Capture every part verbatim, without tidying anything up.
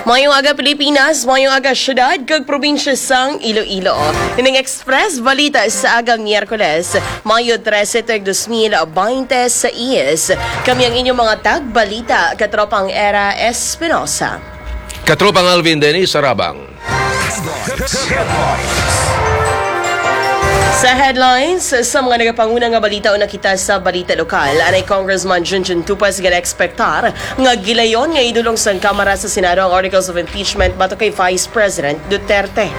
Mayong aga, Pilipinas. Mayong aga, syudad kag probinsya sang Iloilo. Ining Express Balita sa aga Miyerkules, Mayo trese, tuig dos mil baynte sais. Kami ang inyong mga tagbalita, Katropang Era Espinosa. Katropang Alvin Dennis Sarabang. Sa headlines, sa mga nagapanguna nga balita, una kita sa balita lokal. Anay Congressman Junjun Tupas gana-ekspektar nga gilayon nga idulong sang Kamara sa Senado ang articles of impeachment batok kay Vice President Duterte.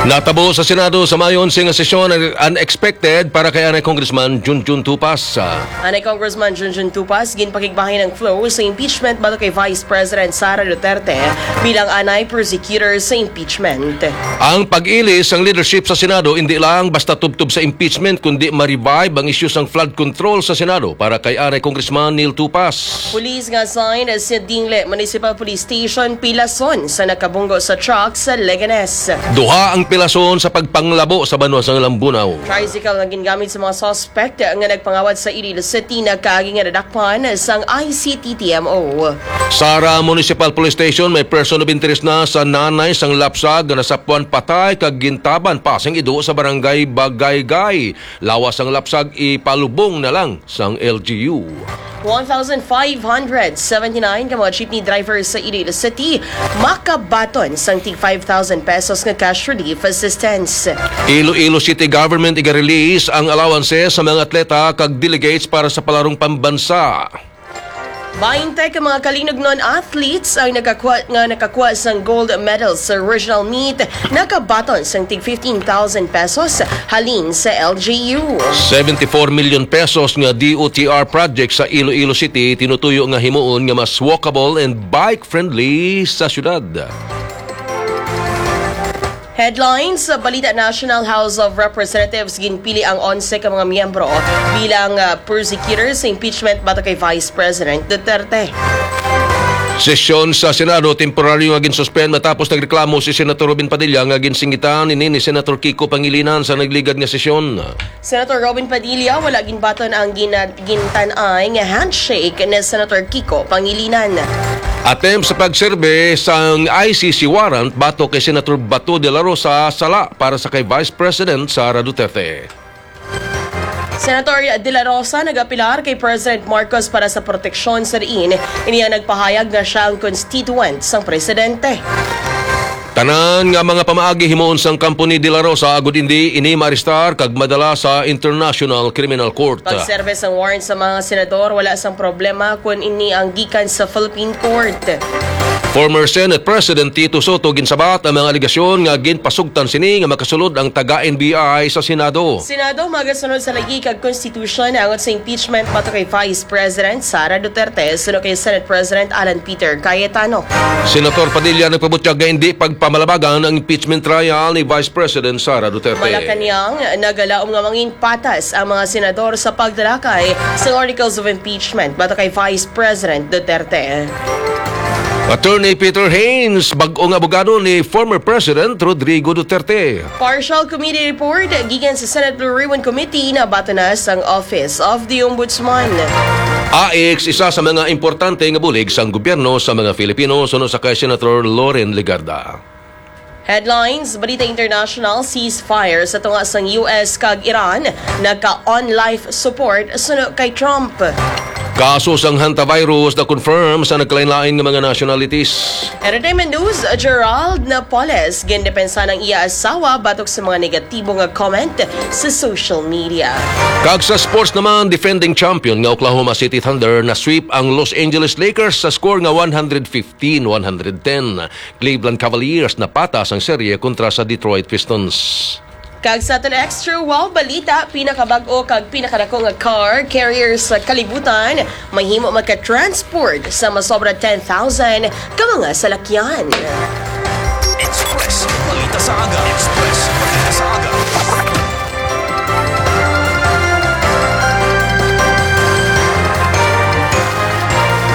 Natabo sa Senado sa Mayo onse nga sesyon ang unexpected para kay anay Congressman Junjun Tupas. Anay Congressman Junjun Tupas, ginpakigbahin ang flow sa impeachment batok kay Vice President Sara Duterte bilang anay prosecutor sa impeachment. Ang pag-ili sang leadership sa Senado indi lang basta tubtob sa impeachment, kundi ma-revive ang isyu sang flood control sa Senado para kay anay Congressman Neil Tupas. Pulis nga assigned sa Dingle Municipal Police Station pilason sa nagkabunggo sa truck sa Leganes. Duha ang pilason sa pagpanglabo sa banwa sang Lambunao. Tricycle nga gingamit sa mga suspect nga nagpangawat sa Iloilo City nagkaagi nga nadakpan sang I C T T M O. Sara Municipal Police Station, may person of interest na sa nanay sang lapsag nga nasapwan patay kag gintaban pa sing ido sa barangay Bagaygay. Lawas sang lapsag, ipalubong na lang sang L G U. One thousand five hundred seventy-nine ka mga jeepney drivers sa Iloilo City makabaton sang tig five thousand pesos nga cash relief assistance. Iloilo City Government iga-release ang allowances sa mga atleta kag delegates para sa palarong pambansa. Baynte ka mga kalinugnon athletes ang nakakuha, nga nakakuha sang gold medal sa regional meet, nakabaton sang tig fifteen thousand pesos halin sa L G U. Seventy-four million pesos nga D O T R project sa Iloilo City tinutuyo nga himuon nga mas walkable and bike-friendly sa syudad. Headlines sa balita: National House of Representatives ginpili ang onse ka mga miyembro bilang, ah, prosecutor sa impeachment batok kay Vice President Duterte. Sesyon sa Senado temporaryo nga ginsuspend matapos nagreklamo si Senator Robin Padilla nga ginsingitan ini ni Senator Kiko Pangilinan sa nagligad nga sesyon. Senator Robin Padilla, wala ginbaton ang gina-, gintan-ay nga handshake ni Senator Kiko Pangilinan. Attempt sa pagserbe sang I C C warrant batok kay Senator Bato de la Rosa, sala para sa kay Vice President Sara Duterte. Senator de la Rosa nagapilar kay President Marcos para sa proteksyon sa diin ini ang nagpahayag nga sia ang constituent sang presidente. Tanan nga mga pamaagi himuon sang kampo ni De La Rosa agud indi ini maarestar kag madala sa International Criminal Court. Pagserbe sang warrant sa mga senador, wala sang problema kon ini ang gikan sa Philippine Court. Former Senate President Tito Soto ginsabat ang mga alegasyon nga ginpasugtan sini nga makasulod ang taga N B I sa Senado. Senado magasunod sa lagi kag konstitusyon angot sa impeachment batok kay Vice President Sara Duterte, suno kay Senate President Alan Peter Cayetano. Senator Padilla nagpabutyag nga indi pagpamalabagan ang impeachment trial ni Vice President Sara Duterte. Malacañang, nagalaom nga mangin patas ang mga senador sa pagtalakay sa articles of impeachment batok kay Vice President Duterte. Attorney Peter Haynes, bag-ong abogado ni former President Rodrigo Duterte. Partial committee report gikan sa Senate Blue Ribbon Committee nabaton na sang Office of the Ombudsman. AICS isa sa mga importante nga bulig sang gobyerno sa mga Filipino, suno sa kay Senator Loren Legarda. Headlines: Balita international: Ceasefire sa tunga sang U S kag Iran nagka-on life support suno kay Trump. Kaso sang hantavirus na-confirm sa nagkalainlain nga mga nationalities. Entertainment news: Gerald Napoles gindepensa ang iya asawa batok sa mga negatibo nga comment sa social media. Kag sa sports naman, defending champion nga Oklahoma City Thunder na-sweep ang Los Angeles Lakers sa score nga one hundred fifteen one hundred ten. Cleveland Cavaliers napatas ang serye kontra sa Detroit Pistons. Kag sa aton extra wow balita, pinakabag-o kag pinakadako nga car carrier sa kalibutan, mahimo magka-transport sa masobra ten thousand ka mga salakyan. Express Balita sa Aga. Express Balita sa Aga.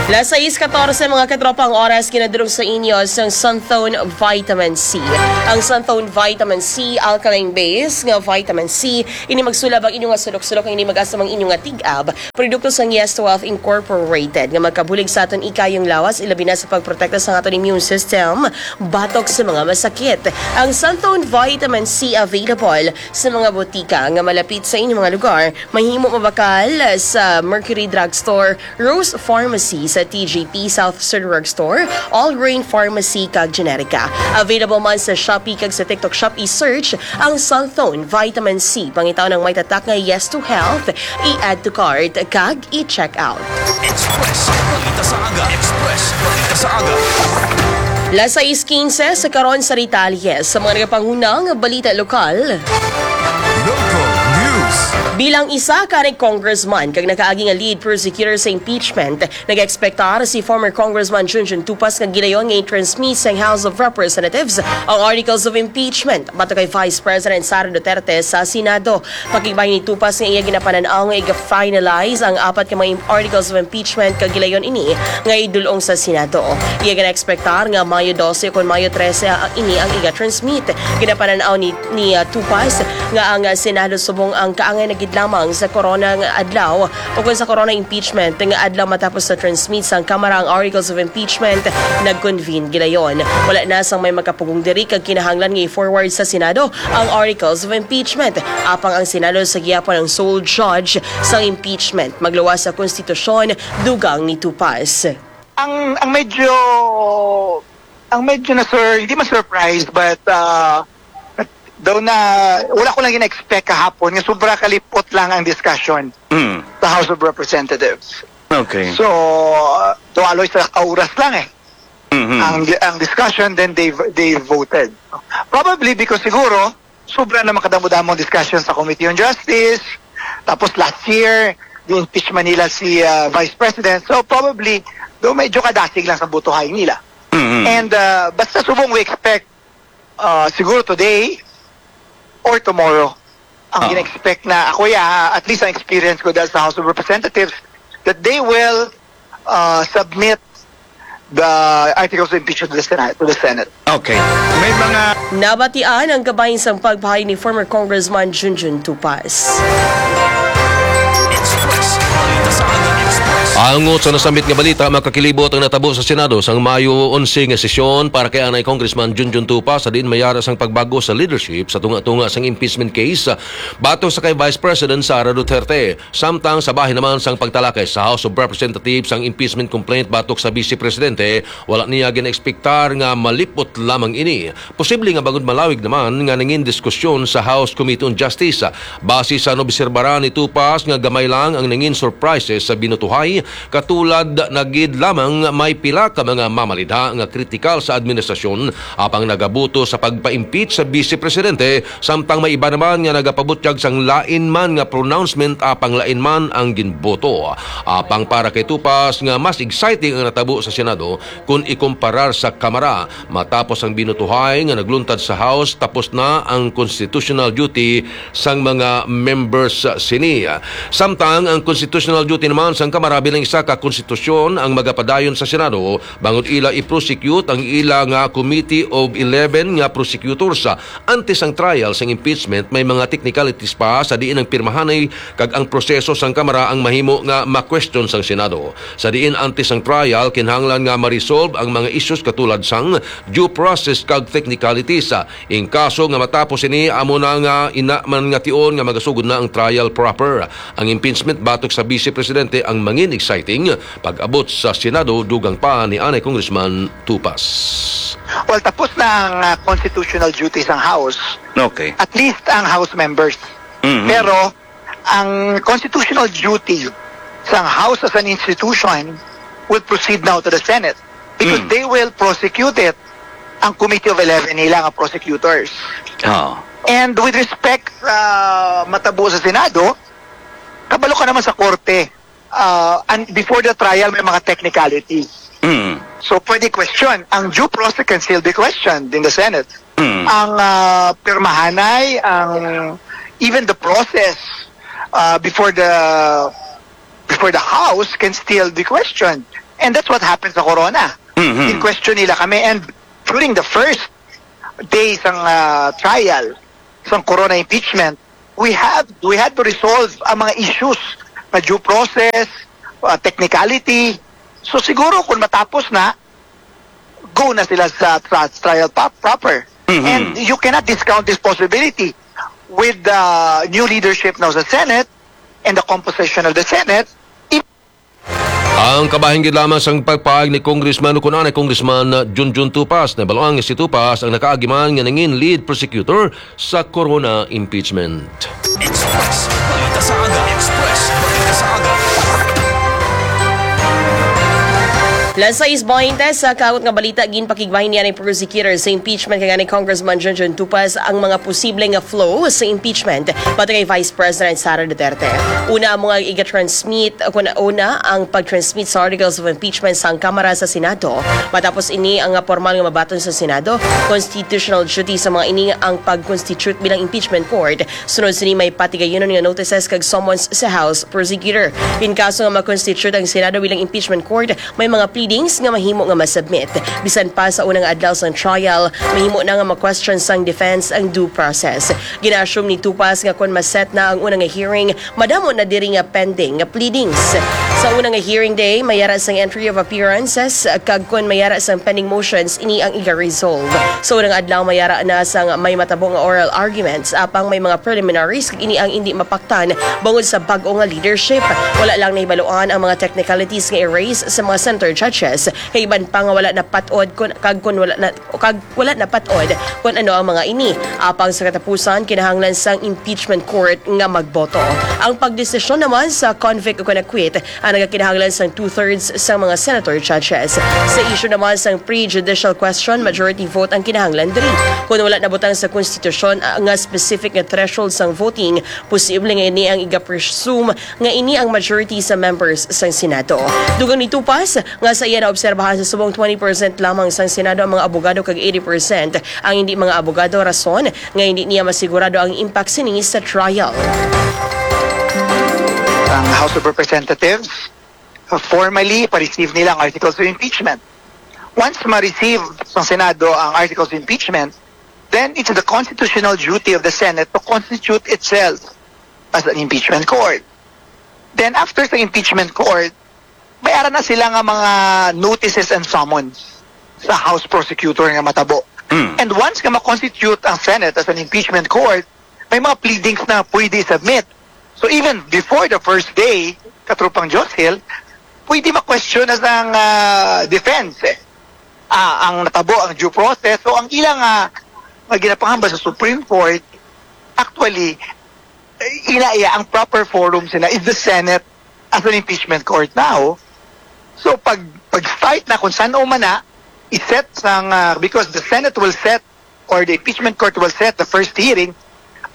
Las sais katorse, mga katropa, ang oras, ginadulong sa inyo sang Santhone Vitamin C. Ang Santhone Vitamin C, alkaline base nga vitamin C, ini magsulab ang inyo nga sulok-sulok, ang ini mag-asam ang inyo nga tig-ab. Produkto sang Yes to Health Incorporated nga magkabulig sa aton ikayong lawas, ilabi na sa pagprotekta sa aton immune system batok sa mga masakit. Ang Santhone Vitamin C available sa mga botika nga malapit sa inyong mga lugar. Mahimo mabakal sa Mercury Drugstore, Rose Pharmacy, sa T J P South Sir Drugstore, All Grain Pharmacy, kag Generica. Available man sa Shopee kag sa TikTok Shop. I-search ang Santhone Vitamin C. Pangitaw ng may tatak nga Yes to Health, i-add to cart, kag i-check out. Express Balita sa Aga. Express Balita sa Aga. Las sais quince sa karon sa detalye sa mga nagapanghunang balita lokal. Local News. Bilang isa ka congressman kag nakaagi nga lead prosecutor sa impeachment, nag-ekspektar si former Congressman Junjun Tupas nga gilayon nga i-transmit sang House of Representatives ang articles of impeachment batok kay Vice President Sara Duterte sa Senado. Pakigbahin ni Tupas nga iya ginapanan-aw nga iga-finalize ang apat ka mga im-, articles of impeachment kag gilayon ini nga idul-ong sa Senado. Iya gina-ekspektar nga Mayo dose ukon Mayo trese ang, ini ang iga-transmit. Ginapanan-aw ni, ni, ah, Tupas nga ang, ah, Senado subong ang kaangay na gid lamang sa korona nga adlaw ukon sa corona impeachment nga adlaw matapos sa transmit sang Kamara ang articles of impeachment, nag-convene gilayon. Wala na sang may makapugong diri kag kinahanglan nga i-forward sa Senado ang articles of impeachment. Apang ang Senado sa gihapon ang sole judge sang impeachment. Magluwas sa konstitusyon, dugang ni Tupas. Ang, ang medyo, ang medyo na, sir, hindi man surprised, but, uh, daw na, wala ko lang gina-expect kahapon nga sobra kalipot lang ang discussion Mm. sa House of Representatives. Okay. So, uh, tuwaloy sa kauras lang eh. Mhm. Ang, ang discussion, then they, they voted. Probably because siguro, sobra na makadamo-damong discussion sa Committee on Justice. Tapos last year, di-impeach man nila si, uh, Vice President. So probably, do medyo kadasig lang sa butuhay nila. Mhm. And, uh, basta subong we expect, uh, siguro today or tomorrow. Ang Ah. gina-expect na, ako ya, ha, at least ang experience ko dahil sa House of Representatives, that they will, uh, submit the articles of impeachment to the Senate, to the Senate. Okay. May mga Nabatian ang kabahin sang pagpahayag ni former Congressman Junjun Tupas. Express. Balita sa Aga Express. Angot sa nasambit nga balita, makakilibot ang natabo sa Senado sang Mayo onse nga sesyon para kay anay Congressman Junjun Tupas, sa diin may ara sang pagbag-o sa leadership sa tunga-tunga sang impeachment case batok sa kay Vice President Sara Duterte. Samtang sa bahin naman sang pagtalakay sa House of Representatives ang impeachment complaint batok sa Vice Presidente, wala niya ginaekspektar nga malipot lamang ini. Posible nga bangod malawig naman nga nangin diskusyon sa House Committee on Justice. Base sa naobserbaran ni Tupas nga gamay lang ang nangin surprises sa binutuhay, katulad na gid lamang may pila ka mga mamalidha nga kritikal sa administrasyon, apang nagabuto sa pagpa-impeach sa Vice Presidente, samtang may iba naman nga nagapabutyag sang lain man nga pronouncement apang lain man ang ginboto. Apang para kay Tupas nga mas exciting ang natabo sa Senado kun ikumparar sa Kamara. Matapos ang binutuhay nga nagluntad sa House, tapos na ang constitutional duty sang mga members sini. Samtang ang constitutional duty naman sang Kamara bilang isa ka konstitusyon ang magapadayon sa Senado, bangod ila i-prosecute ang ila nga Committee of Eleven nga prosecutors. Antes ang trial sang impeachment, may mga technicalities pa sa diin ang pirmahanay kag ang proseso sang Kamara ang mahimo nga ma-question sang Senado. Sa diin antes ang trial, kinahanglan nga ma-resolve ang mga issues katulad sang due process kag technicalities. In kaso nga matapos ini, amo na nga ina man nga tion nga magasugod na ang trial proper. Ang impeachment batok sa Vice Presidente ang mangin exciting pag-abot sa Senado, dugang pa ni anay Congressman Tupas. Well, tapos na ang, ah, constitutional duty sang House. Okay. At least ang House members. Mhm. Pero ang constitutional duty sang House as an institution will proceed now to the Senate because Mm. they will prosecute it, ang Committee of Eleven nila nga prosecutors. Ah. And with respect sa matabo sa Senado, kabalo ka naman sa korte, uh, and before the trial, may mga technicalities. Mm. So, pwede question. Ang due process can still be questioned in the Senate. Mm. Ang, uh, pirmahanay, ang, even the process, uh, before the, before the House can still be questioned. And that's what happened sa Corona. Mhm. In question nila kami. And during the first day sang ah, trial, sang Corona impeachment, we have we had to resolve ang mga issues na due process, uh, technicality. So siguro kung matapos na, go na sila sa tra- trial pa- proper. Mhm. And you cannot discount this possibility with the new leadership now sa Senate and the composition of the Senate. Ang kabahin gid lamang sang pagpahayag ni Congressman, o kun anay Congressman Junjun Tupas, na baluang si Tupas ang nakaagi man nga nangin lead prosecutor sa Corona impeachment. Express Balita sa Aga. Express Balita sa Aga. Las sais baynte sa kaabot nga balita, ginpakigbahin niya ni prosecutor sa impeachment kay ni Congressman Junjun Tupas ang mga posible nga flow sa impeachment batok kay Vice President Sara Duterte. Una ang mga iga-transmit, kun una ang pag-transmit sa articles of impeachment sang Kamara sa Senado. Matapos ini ang formal nga mabaton sa Senado, constitutional duty sa mga ini ang pag-constitute bilang impeachment court. Sunod sini may patigayunon nga notices kag summons sa House prosecutor. In kaso nga ma-constitute ang Senado bilang impeachment court, may mga pleadings nga mahimo nga ma-submit. Bisan pa sa unang adlaw sang trial, mahimo na nga ma-question sang defense ang due process. Gina-assume ni Tupas nga kon ma-set na ang una nga hearing, madamo na diri nga pending nga pleadings. Sa una nga hearing day, may ara sang entry of appearances, kag kon may ara sang pending motions, ini ang iga-resolve. Sa unang adlaw, may ara na sang may matabo nga oral arguments, apang may mga preliminaries kag ini ang indi mapaktan bangod sa bag-o nga leadership. Wala lang nahibaluan ang mga technicalities nga i-raise sa mga senator judges, kag iban pa nga wala napat-od kun, kag kun wala na, kag wala napat-od kun ano ang mga ini. Apang sa katapusan, kinahanglan sang impeachment court nga magboto. Ang pagdesisyon naman sa convict o kon acquit ang nagakinahanglan sang two-thirds sang mga senator judges. Sa issue naman sang prejudicial question, majority vote ang kinahanglan diri. Kon wala nabutang sa konstitusyon nga specific nga threshold sang voting, posible nga ini ang iga-presume nga ini ang majority sa members sang Senado. Dugang ni Tupas nga sa iya naobserbahan, sa subong twenty percent lamang sang Senado ang mga abogado kag eighty percent ang hindi mga abogado, rason nga hindi niya masigurado ang impact sini sa trial. Ang House of Representatives, uh, formally, pa-receive nila ang articles of impeachment. Once ma-receive sa Senado ang articles of impeachment, then it's the constitutional duty of the Senate to constitute itself as an impeachment court. Then after sa impeachment court, may ara na sila nga mga notices and summons sa House prosecutor nga matabo. Mm. And once nga ma-constitute ang Senate as an impeachment court, may mga pleadings na pwede submit. So even before the first day, Katropang Joshil, pwede ma-question as ang ah, defense eh. Ah, ang natabo, ang due process. So ang ilang ah, nga ginapangamba sa Supreme Court, actually, eh, ina iya, ang proper forum sila is the Senate as an impeachment court now. So pag pag-start na kung saan man na i-set sang ah, because the Senate will set or the impeachment court will set the first hearing,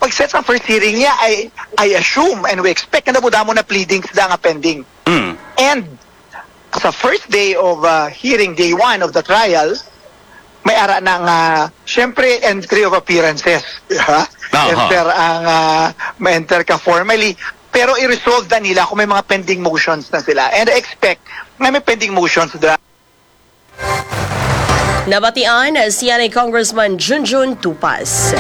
pag-set sang first hearing niya, I I assume and we expect na damo na pleadings da nga pending. Mm. And sa first day of uh, hearing, day one of the trial, may ara na nga, syempre, entry of appearances. Ha? Aha. Enter ang, uh, ma-enter ka formally. Pero i-resolve na nila kung may mga pending motions na sila. And I expect nga may pending motions da. Nabatian siya ni Congressman Junjun Tupas.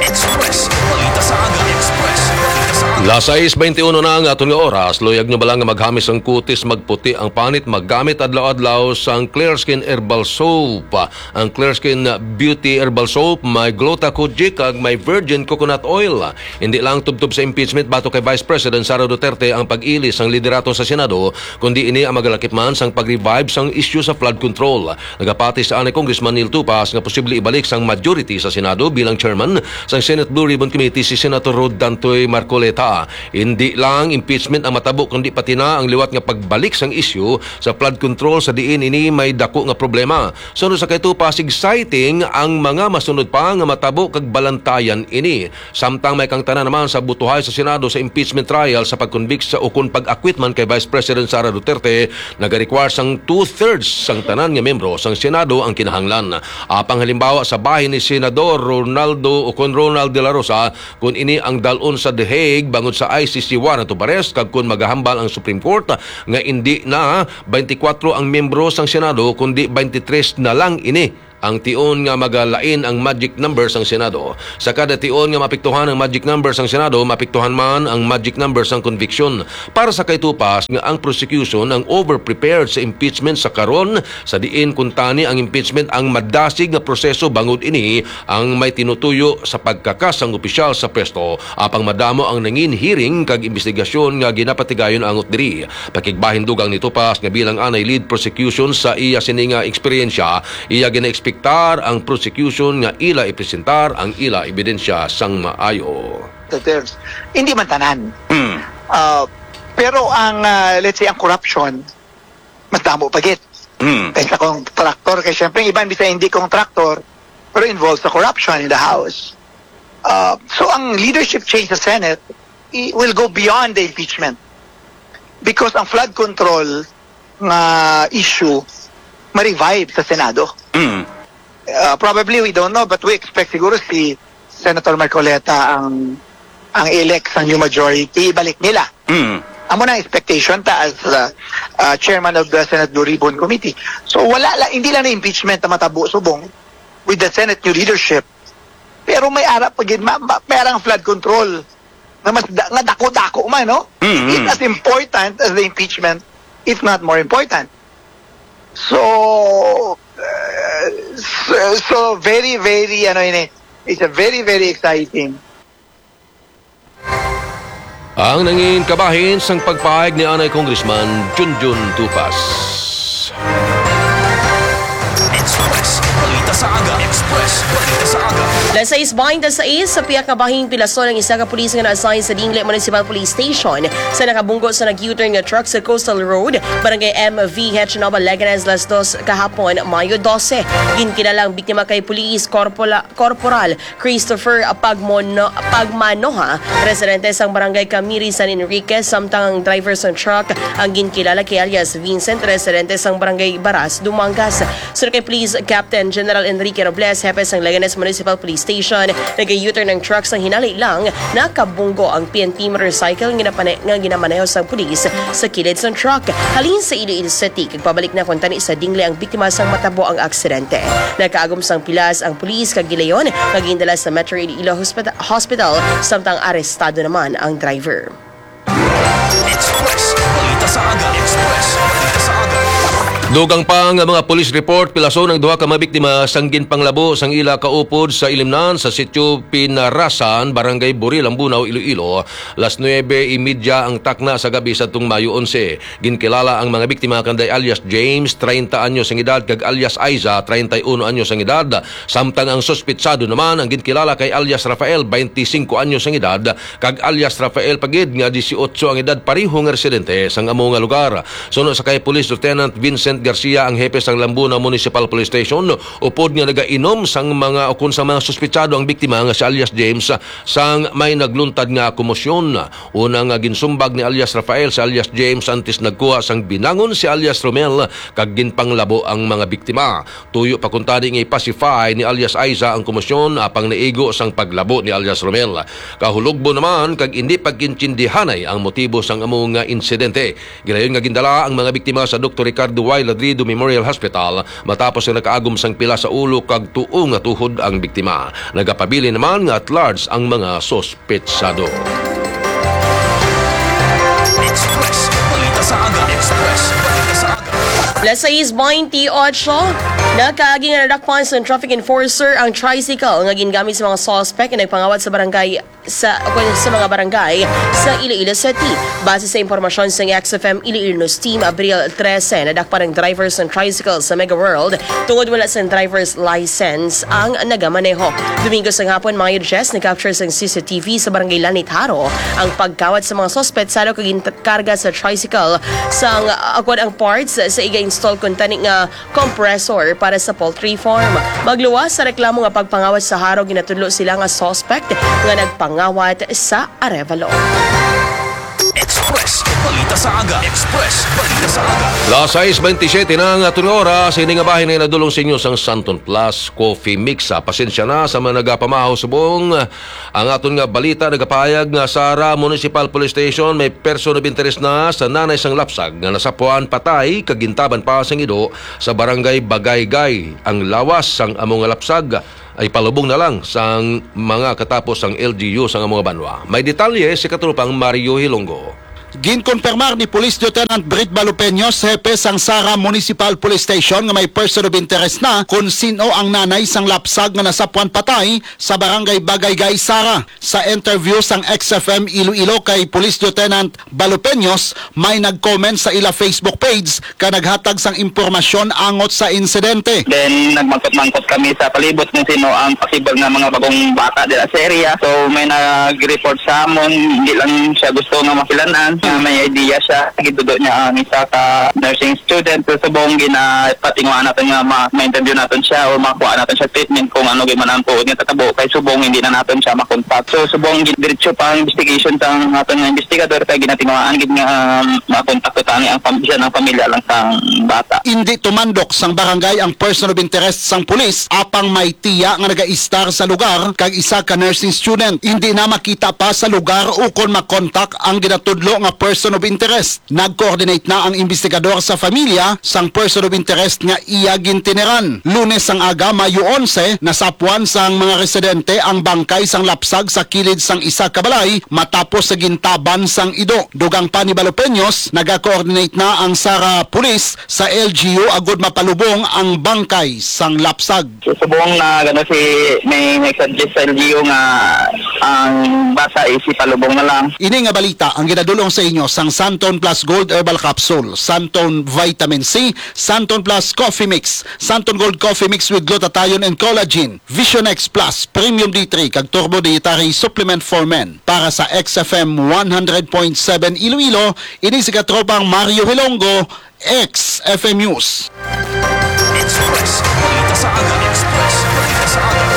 Express. Balita sa Aga. Express. Balita sa Aga. Las sais baynte uno na ang aton nga oras. Luyag nyo bala nga maghamis ang kutis, magputi ang panit, maggamit adlaw-adlaw sang Clear Skin Herbal Soap. Ang Clear Skin Beauty Herbal Soap may Gluta Kojic kag may virgin coconut oil. Hindi lang tubtob sa impeachment batok kay Vice President Sara Duterte ang pag-ili sang liderato sa Senado, kundi ini ang magalakip man sang pag-revive sang isyu sa flood control. Nagapati sa anay Congressman Neil Tupas nga posible ibalik sang majority sa Senado bilang chairman sang Senate Blue Ribbon Committee si Senator Rod Dantoy Marcoleta. Hindi lang impeachment ang matabo, kundi pati na ang liwat nga pagbalik sang isyu sa flood control sa diin ini may dako nga problema. Sunod sa kay Tupas, exciting ang mga masunod pa nga matabo kag balantayan ini. Samtang may kangtanan naman sa butuhay sa Senado sa impeachment trial sa pag-convict sa ukon pag-acquit man kay Vice President Sara Duterte, nagarequire sang two-thirds sang tanan nga miyembro sang Senado ang kinahanglan. Apang halimbawa sa bahin ni Senador Ronaldo ukon Ronald De La Rosa, kun ini ang dal-on sa The Hague, tungod sa I C C warrant of arrest, kag kon magahambal ang Supreme Court nga indi na twenty-four ang miyembro sang Senado kundi twenty-three na lang ini ang tion nga magalain ang magic number sang Senado. Sa kada tion nga maapektuhan ang magic number sang Senado, maapektuhan man ang magic number sang conviction. Para sa kay Tupas nga ang prosecution ang overprepared sa impeachment sa karon, sa diin kuntani ang impeachment ang madasig nga proseso bangod ini ang may tinutuyo sa pagkakas sang opisyal sa pwesto, apang madamo ang nangin hearing kag imbestigasyon nga ginapatigayon angot diri. Pakigbahin dugang ni Tupas nga bilang anay lead prosecution sa iya sini nga eksperyensya, iya ginaekspektar ang prosecution nga ila ipresentar ang ila ebidensya sang maayo. Duterte. Hindi man tanan. Mm. Ah, pero ang, ah, let's say, ang corruption, mas damo pa gid. Mm. Kaysa contractor, kay syempre, iban bisa hindi contractor, pero involved sa corruption in the House. Ah, so, ang leadership change sa Senate, i-, will go beyond the impeachment. Because ang flood control nga issue, ma-revive sa Senado. Mm. Uh, probably we don't know, but we expect siguro si Senator Marcoleta ang, ang elect sa new majority, ibalik nila. Mm. Amo na ang expectation ta as, uh, uh, chairman of the Senate Blue Ribbon Committee. So wala la, hindi lang na impeachment ang matabo subong with the Senate new leadership. Pero may ara pa gid, ma, ma, may ara ang flood control nga mas da, nga dako-dako man, no? Mm, mm. It's as important as the impeachment, if not more important. So, uh, so, so very, very, ano ini, it's a very, very exciting. Ang nangin kabahin sang pagpaig ni anay Congressman Junjun Tupas. Express Balita sa Aga. Express Balita sa Aga. Las sais baynte sais, sa pihak nga bahin pilason ang isa ka pulis nga na-assign sa Dingle Municipal Police Station sa nakabunggo sa nag-U-turn nga truck sa Coastal Road, Barangay M V H, Nova Leganes, las dos kahapon, Mayo dose. Ginkilala ang biktima kay Police Corpola-, Corporal Christopher Pagmono-, Pagmanoha, residente sang Barangay Camiri, San Enrique, samtang ang driver sang truck ang ginkilala kay alias Vincent, residente sang Barangay Baras, Dumangas. Suno kay Police Captain General Enrique Robles, hepe sang Leganes Municipal Police Station, nag-U-turn ang truck sang hinali lang nakabunggo ang P N P motorcycle nga napane-, nga ginamaneho sang pulis sa kilid sang truck. Halin sa Iloilo City, kag pabalik na kuntani sa Dingle ang biktima sang matabo ang aksidente. Nakaagom sang pilas ang pulis kag gilayon nga gindala sa Metro Iloilo Hospita-, Hospital, samtang arestado naman ang driver. Express Balita sa Aga. Express Balita sa Aga. Dugang pa nga mga police report, pilason ang duha ka mga biktima sang ginpanglabo sang ila kaupod sa Ilimnan sa Sitio Pinarasan, Barangay Buril, Ambunao, Iloilo, las nuebe y media ang takna sa gabi sa tong Mayo onse. Ginkilala ang mga biktima kanday alias James, treinta anyos ang edad, kag alias Aiza, treinta y uno anyos ang edad, samtang ang suspitsado naman ang ginkilala kay alias Rafael, twenty-cinco anyos ang edad, kag alias Rafael pa gid nga dieciocho ang edad, pareho nga residente sang amo nga lugar. Suno sa kay Police Lieutenant Vincent Garcia, ang hepe sang Lambuna Municipal Police Station, upod nga nagainom sang mga, ukon sa mga suspitsado ang biktima nga si alias James, sang may nagluntad nga komosyon. Una nga ginsumbag ni alias Rafael si alias James antes nagkuha sang binangon si alias Romel kag ginpanglabo ang mga biktima. Tuyo pa kuntani nga i-pacify ni alias Aiza ang komosyon apang naigo sang paglabo ni alias Romel. Kahulugbo naman kag indi pagkintindihanay ang motibo sang amo nga insidente. Gilayon nga gindala ang mga biktima sa Doktor Ricardo Y Ladrido Memorial Hospital matapos nga nakaagom sang pila sa ulo kag tuo nga tuhod ang biktima. Nagapabilin naman nga at large ang mga suspetsado. Express Balita sa Aga. Express Balita sa Aga. Las sais baynte ocho, nakaagi nga nadakpan sa traffic enforcer ang tricycle nga gingamit sa mga suspect nga nagpangawat sa barangay sa, sa mga barangay sa Iloilo City. Base sa impormasyon sa X F M Iloilo News Team, Abril trese, nadakpan ang driver sa tricycle sa Mega World tungod wala sa driver's license ang nagamaneho. Domingo sa hapon, Mayo diyes, na-capture sa C C T V sa Barangay Lanitaro ang pagkawat sa mga suspetsado kag ginkarga sa tricycle sang, uh, kuwan, ang parts sa iga-install kuntani nga compressor para sa poultry farm. Magluwas sa reklamo nga pagpangawat sa harog, ginatudlo sila nga suspect nga nagpangawat sa Arevalo. Express Express Balita sa Aga. Express Balita sa Aga. Las sais bentisiete na ang aton nga oras. Ini nga bahin ay nadulong sa inyo sang Santon Plus Coffee Mix. Ah, pasensya na sa mga nagapamahaw subong. Ang aton nga balita nagapahayag nga Sara Municipal Police Station may person of interest na sa nanay sang lapsag nga nasapuan patay kag gintaban pa sang ido sa barangay Bagaygay. Ang lawas sang amo nga lapsag ay palubong na lang sang mga katapos sang L G U sang amo nga banwa. May detalye si Katropang Mario Hilonggo. Ginkonfirmar ni Police Lieutenant Brit Balupeños, hepe sang Sara Municipal Police Station, nga may person of interest na kon sin-o ang nanay sang lapsag nga nasapuan patay sa barangay Bagaygay, Sara. Sa interview sang X F M Iloilo kay Police Lieutenant Balupeños, may nag-comment sa ila Facebook page ka naghatag sang impormasyon angot sa insidente. Then, nagmangkot-mangkot kami sa palibot kung sino ang possible nga mga bagong bata dira sa area. So, may nag-report sa amon, hindi lang siya gusto nga makilan-an, nga may idea siya. Gitudo niya ang isa ka nursing student. So, subong ginapatinguhaan naton nga ma-, ma-interview naton siya o makuha naton siya treatment kung ano gyud man ang tuod nga tatabo. Kay subong hindi na naton siya makontak. So, subong gin-, diretso pa ang investigation sang aton nga investigador kay ginatinguhaan gid nga, um, makontak ko tani ang pam-, siya ng pamilya lang sang bata. Indi tumandok sang barangay ang person of interest sang pulis, apang may tiya nga nagaistar sa lugar kag isa ka nursing student. Indi na makita pa sa lugar ukon makontak ang ginatudlo nga person of interest. Nag-coordinate na ang investigador sa familya sang person of interest nga iya gintineran. Lunes sang aga, Mayo onse, nasapuan sang mga residente ang bangkay sang lapsag sa kilid sang isa ka balay matapos sa gintaban sang ido. Dugang pa ni Balopeños, naga-coordinate na ang Sara Police sa L G U agud mapalubong ang bangkay sang lapsag. So, subong na gano si, may nag-suggest sa L G U nga ang bata is ipalubong na lang. Ini nga balita ang ginadulong sa inyo sang Santon Plus Gold Herbal Capsule, Santon Vitamin C, Santon Plus Coffee Mix, Santon Gold Coffee Mix with Glutathione and Collagen, Vision X Plus Premium D three kag Turbo Dietary Supplement for Men. Para sa X F M one hundred point seven Iloilo, ini si Katropang Mario Hilonggo, X F M News. Express Balita sa Aga. Express Balita sa Aga.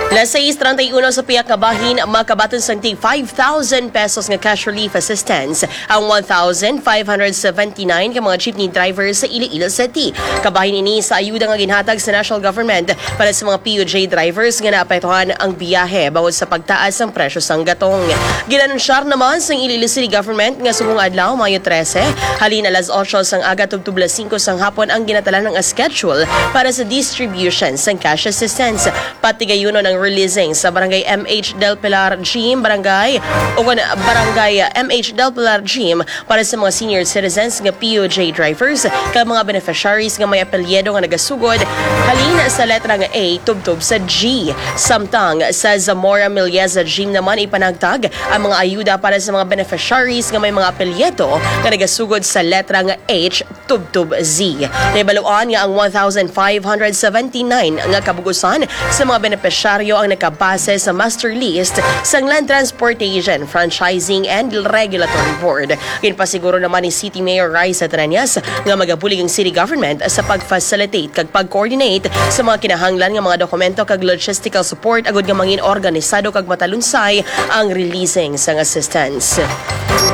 Las sais treinta y uno sa pihak nga bahin, makabaton sang tig five thousand pesos nga cash relief assistance ang one thousand five hundred seventy-nine ka mga jeepney drivers sa Iloilo City. Kabahin ini sa ayuda nga ginhatag sa national government para sa mga P U J drivers nga naapektuhan ang biyahe bangod sa pagtaas sang presyo sang gatong. Ginanunsyar naman sang Iloilo City Government nga subong adlaw, Mayo trese, halin alas otso sang aga tubtob las singko sang hapon ang ginatalaan nga schedule para sa distribution sang cash assistance. Patigayunon ang releasing sa Barangay M H Del Pilar Gym, Barangay, o kon Barangay M H Del Pilar Gym para sa mga senior citizens nga P U J drivers kag mga beneficiaries nga may apelyido nga nagasugod halin sa letra nga A tubtob sa G. Samtang sa Zamora Milieza Gym naman ipanagtag ang mga ayuda para sa mga beneficiaries nga may mga apelyido nga nagasugod sa letra nga H tubtob Z. Nahibaluan nga ang one thousand five hundred seventy-nine nga kabug-usan sa mga benepisyaryo ang nakabase sa master list sang Land Transportation, Franchising and Regulatory Board. Ginpasiguro naman ni City Mayor Raisa Treñas nga magabulig ang city government sa pag-facilitate kag pag-coordinate sa mga kinahanglan nga mga dokumento kag logistical support agud nga mangin organisado kag matalunsay ang releasing sang assistance.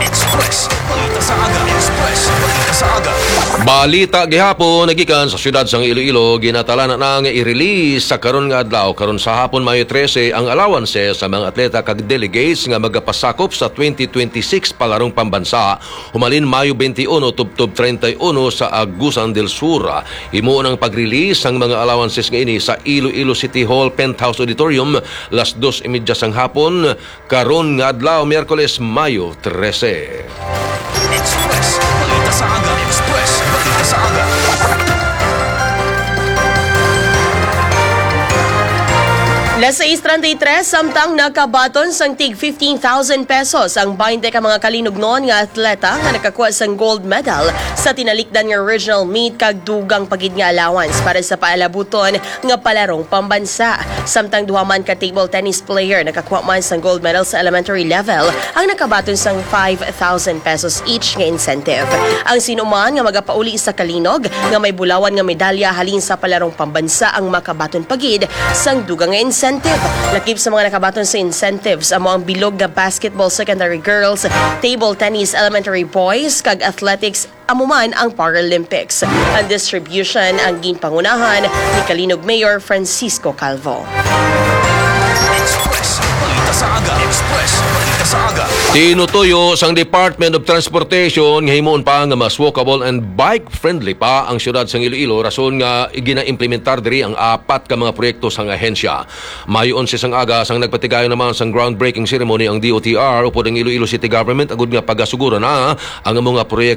Express Balita sa Aga. Express Balita sa Aga. Balita gihapon nagikan sa siyudad sang Iloilo, ginatalanan na nga i-release sa karon nga adlaw, karon sa hapon, Mayo trese, ang allowances sa mga atleta kag delegates nga magapasakop sa twenty twenty-six Palarong Pambansa, humalin Mayo twenty-one tubtob treinta y uno sa Agusan del Sur. Himuon ang pag-release sang mga allowances nga ini sa Iloilo City Hall Penthouse Auditorium, las dos y media sang hapon, karon nga adlaw, Miyerkules, Mayo trese. Express Balita sa Aga. Express Balita sa Aga. Las sais treinta y tres, samtang nakabaton sang tig fifteen thousand pesos ang baynte ka mga kalinugnon nga atleta nga nakakuha sang gold medal sa tinalikdan nga regional meet kag dugang pa gid nga allowance para sa paalabuton nga palarong pambansa. Samtang duha man ka table tennis player nakakuha man sang gold medal sa elementary level ang nakabaton sang five thousand pesos each nga incentive. Ang sinuman nga magapauli sa kalinog nga may bulawan nga medalya halin sa palarong pambansa ang makabaton pa gid sang dugang nga incentive. Incentive. Lakip sa mga nakabaton sa incentives amo ang bilog nga basketball secondary girls, table tennis elementary boys, kag athletics amo man ang Paralympics. Ang distribution ang ginpangunahan ni Calinog Mayor Francisco Calvo. Express Balita sa Aga. Express Balita sa Aga. Tinutuyo sang Department of Transportation nga himuon pa nga mas walkable and bike-friendly pa ang siyudad sang Iloilo, rason nga ginaimplementar diri ang apat ka mga proyekto sang ahensya. Mayo onse sang aga sang nagpatigayon naman sang groundbreaking ceremony ang D O T R upod ang Iloilo City Government agud nga pagasugura na ang mga proyekto